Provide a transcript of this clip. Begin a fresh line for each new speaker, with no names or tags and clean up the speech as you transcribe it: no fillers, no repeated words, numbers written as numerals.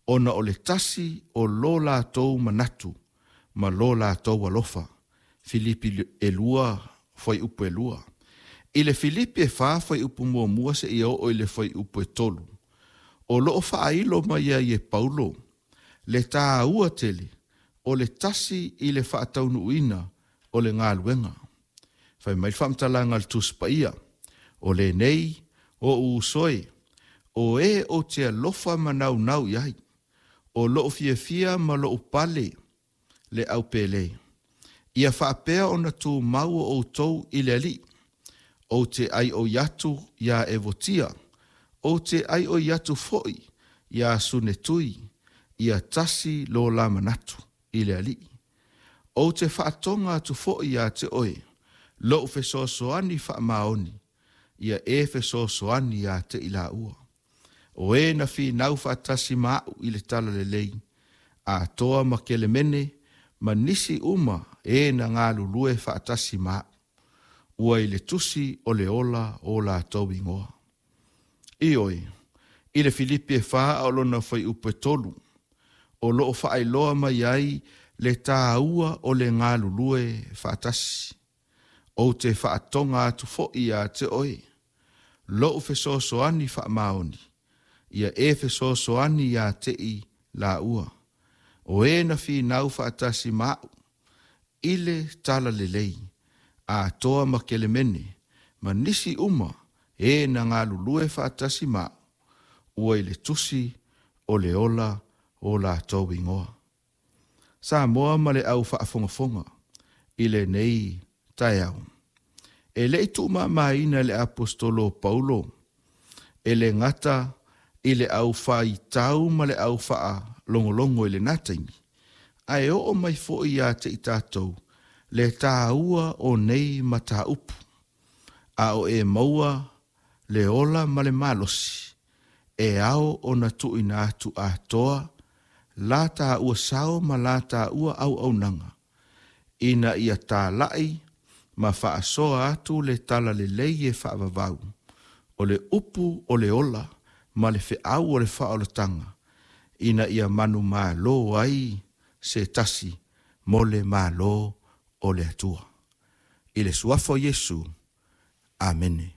ona o le tasi o lo latou manatu ma lo latou alofa. Filipi 2 fuaiupu 2. I le Filipi 4 fuaiupu 1 seia oo i le fuaiupu 3, o loo faailo mai ai e Paulo le tāua tele o le tasi i le faataunuuina o le galuega. Fai mai le faamatalaga a le Tusi Paia, o lenei o ou uso e, o e ou te alofa ma naunau i ai, o lou fiafia ma lou pale le aupele. Ia faapea ona tumau o outou i le Alii. Ou te aioi atu iā Evotia, ou te aioi atu foi iā Sunetui, ia tasi lo la manatu i le Alii. Ou te faatoga atu foi iā te oe, lou fesoasoani faamaoni, ia e fesoasoani iā te i laua. O e na finau faatasi ma au i le talalelei, atoa ma Kelemene, ma nisi uma e na galulue faatasi ma au, ua i le tusi o le ola o latou igoa. Ioe, i le Filipi e 4 a o lona fuaiupu e 3, o loo faailoa mai ai le tāua o le galulue faatasi. Ou te faatoga atu foi iā te oe, lou fesoasoani faamaoni, ia e fesoasoani iā te i laua. O e na finau faatasi ma au, i le talalelei, atoa ma Kelemene, ma nisi uma e na galulue faatasi ma au, ua i le tusi o le ola o latou igoa. Samoa ma le au faafogafoga i lenei taeao. E le i tuumamaina le aposetolo o Paulo, e le gata i le au faitau ma le au faalogologo i lena taimi, ae oo mai foi ia te i tatou le tāua o nei mataupu, a o e maua le ola ma le malosi, e ao ona tuuina atu atoa la tāua sao ma la tāua auaunaga, ina ia talai ma faasoa atu le talalelei e faavavau, o le upu o le ola ma le feau o le faaolataga, ina ia manumalo ai se tasi mo le malo o le Atua. I le suafa o Iesu, Amene.